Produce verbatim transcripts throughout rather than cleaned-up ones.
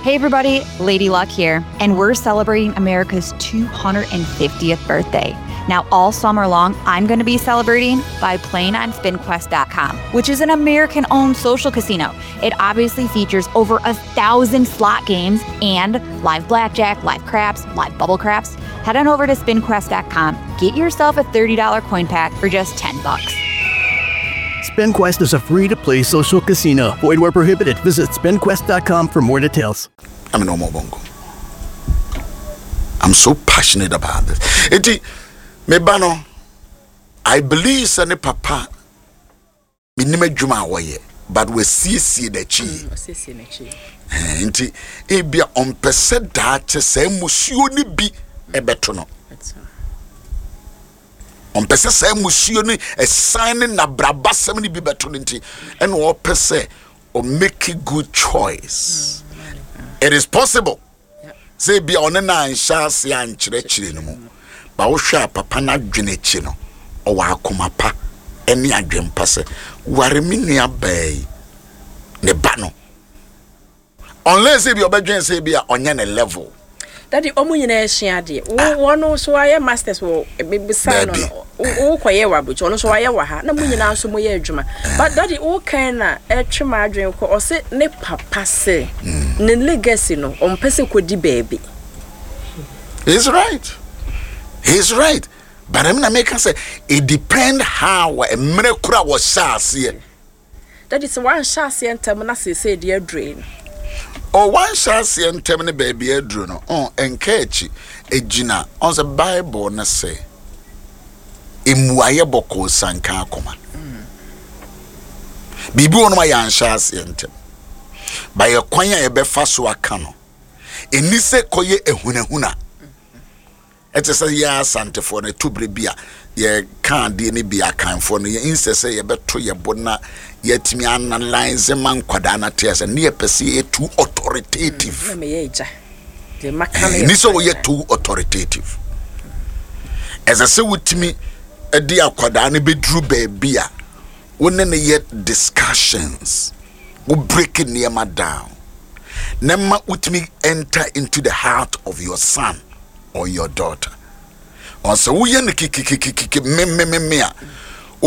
Hey everybody, Lady Luck here, and we're celebrating America's two hundred fiftieth birthday. Now, all summer long, I'm going to be celebrating by playing on spin quest dot com, which is an American owned social casino. It obviously features over a thousand slot games and live blackjack, live craps, live bubble craps. Head on over to spin quest dot com, get yourself a thirty dollar coin pack for just ten bucks. SpinQuest is a free to play social casino. Void where prohibited. Visit spin quest dot com for more details. I'm a normal bongo. I'm so passionate about this. Enti, me ba no, I believe sɛ ne papa menim adwuma a wɔyɛ, but wɔasiesie n'akyi. Ɔsiesie n'akyi. Eh, nti ebia ɔmpɛ sɛ daakye saa mmusuo no bi ɛbɛto no. Ɔmpɛ sɛ saa mmusuo no ɛsan ne nabrabasɛm no bi bɛto no, nti ɛna ɔpɛ sɛ ɔmake good choice. It is possible sɛ ebia ɔne no anhyɛ ase ankyerɛkyerɛ no mu ba. Wohwɛ a, papa no adwene akyi no, ɔwɔ akoma pa ɛne adwempa sɛ ware me nua baa yi ne ba no, unless ebi ɔbɛdwene sɛ ebi a ɔnyɛ ne level. Daddy, ɔmo nyinaa esua adeɛ. Wo wɔn nso ayɛ masters wɔ ebisa no. Dabi. No wo kɔyɛ wɔ abrokyire, ɔno nso wayɛ wɔ ha, na mo nyinaa nso mo yɛ adwuma. But Daddy, wo kan na ɛtwe ma adwene kɔ, ɔse ne papa se ne legacy no, ɔmpɛ sɛ kɔdi baabi. He's right, he's right, but ɛmi na meka sɛ it depend how mmerɛ koro a wɔhyɛ aseɛ. Daddy, sɛ wanhyɛ aseɛ ntɛm na seesei deɛ adure yi no. Ɔ wanhyɛ aseɛ ntɛm ne baabi aduro no, ɔn ɛnka akyi egyina ɔn sɛ Bible no sɛ mmuayɛ bɔkɔɔ sanka akoma. Biribi wɔ nom a yɛanhyɛ aseɛ ntɛm ba, yɛ kwan a yɛbɛfa so aka no, ɛni sɛ kɔyɛ ehunahuna. Ɛte sɛ yɛ Asantefoɔ no, ɛto berɛ bi a yɛka adeɛ no bi, Akanfoɔ no, yɛ insɛ sɛ yɛbɛto yɛ bo na yɛatumi analyse ma nkwadaa no ate sɛ ne yɛpɛ sɛ yɛyɛ too authoritative. Na meyɛ agya deɛ maka no yɛ Ni sɛ final. Woyɛ too authoritative, ɛsɛ sɛ wotumi de akwadaa no bɛduru baabi a wo ne no yɛ discussions, wo break nneɛma down na ma wotumi enter into the heart of your son or your daughter. Ɔsɛ woyɛ no kikikikiki memememe a,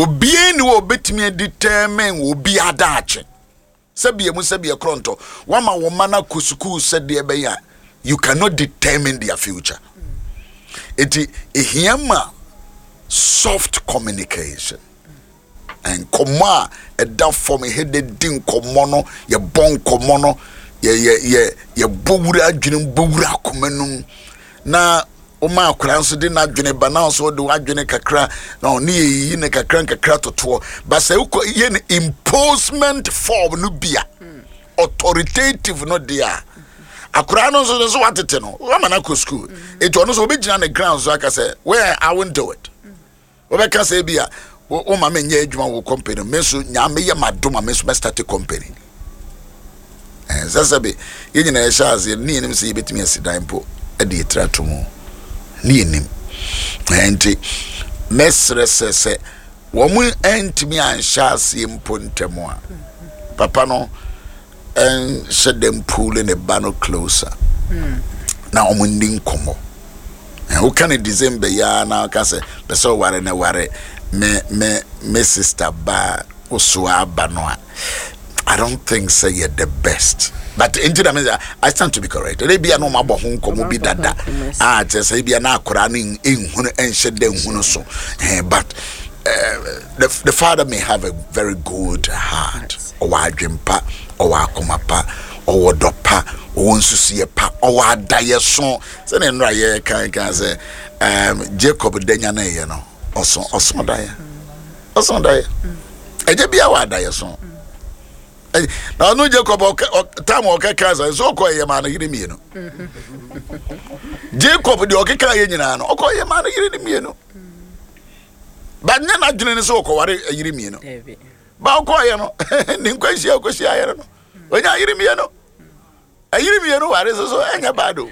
obiara ni wɔ obɛtumi adetermine wɔ obi adaakye. Sɛbea mu sɛbea korɔntɔ wama wɔn mma no akɔ sukuu sɛdeɛ ɛbɛyɛ a, you cannot determine their future. Eti ehia ma soft communication, nkɔmmɔ a ɛda fam. Ɛhɛ di nkɔmmɔ no, yɛbɔ nkɔmmɔ no, yɛ yɛ yɛ yɛbɔ wura adwene, bɔ wura akoma no mu, na woma akwaraa nso de n'adwene ba, na nso de w'adwene kakra na ɔne yɛyiyi ne kakra nkakra totoɔ ba. Sɛ wokɔ yɛ no imposement form no bi a, authoritative no deɛ a, akwaraa no nso nso watete no, wama no akɔ school, eti ɔno nso obɛgyina ne ground so aka sɛ, "Well, I won't do it." Wobɛka sɛ bi a wo ma menyɛ adwuma wɔ company, me nso nyaa meyɛ madom a, me nso mɛstart company. Sɛ sɛ bi yɛn nyinaa yɛhyɛ aseɛ ne yɛnim sɛ yɛbɛtumi asi dan mpo de yɛtiri ato mu ne yɛnim. Nti mɛsrɛ sɛ sɛ wɔn ntumi anhyɛ aseɛ mpo ntɛm a, papa no nhyɛ dɛm pull ne ba no closer na wɔn nni nkɔmmɔ. Woka no December yi ara na woka sɛ pɛ sɛ ɔware ne ware me me me sister ba woso aba no a, I don't think say you're the best. But nti na me sɛ I stand to be corrected. Ebi a na ɔmo abɔ ho nkɔmɔ bi dada a kyerɛ sɛ ebi a na akwaraa no nhunu, nhyɛ dɛ nhunu so. Eh, but uh, the the father may have a very good heart. Ɔwɔ adwempa, ɔwɔ akoma pa, ɔwɔ dɔ pa, ɔwɔ nsusuiɛ pa, ɔwɔ adayɛ so. Sɛdeɛ nnora yɛ kan kan sɛ um, Jacob danya na ɛyɛ no, ɔso ɔso daeɛ, ɔso daeɛ. Ɛgye bia wɔ adayɛ so. Na ɔno Jacob tam ɔkɛka sɛ nso ɔkɔ ɛyɛ maa no yere mmienu. Jacob deɛ ɔkeka yɛ nyinaa no, ɔkɔ ɛyɛ maa no yere ne mmienu ba, nyɛ n'adwene ne sɛ ɔkɔware yere mmienu ba. Ɔkɔɔyɛ no ne nkwanhyia ɔkɔhyia yere no, ɔnya yere mmienu. Ɛyere mmienu ware so so ɛnyɛ bad o.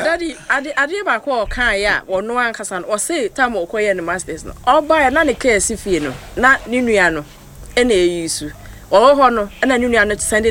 Daddy, ade adeɛ baako a ɔkaeɛ a ɔno ankasa no, ɔse tam ɔkɔyɛ ne masters no, ɔbaeɛ na ne kaa si fie no na ne nua no ɛna ɛyi su ɔwɔ hɔ no, ɛna ne nua no sɛnde.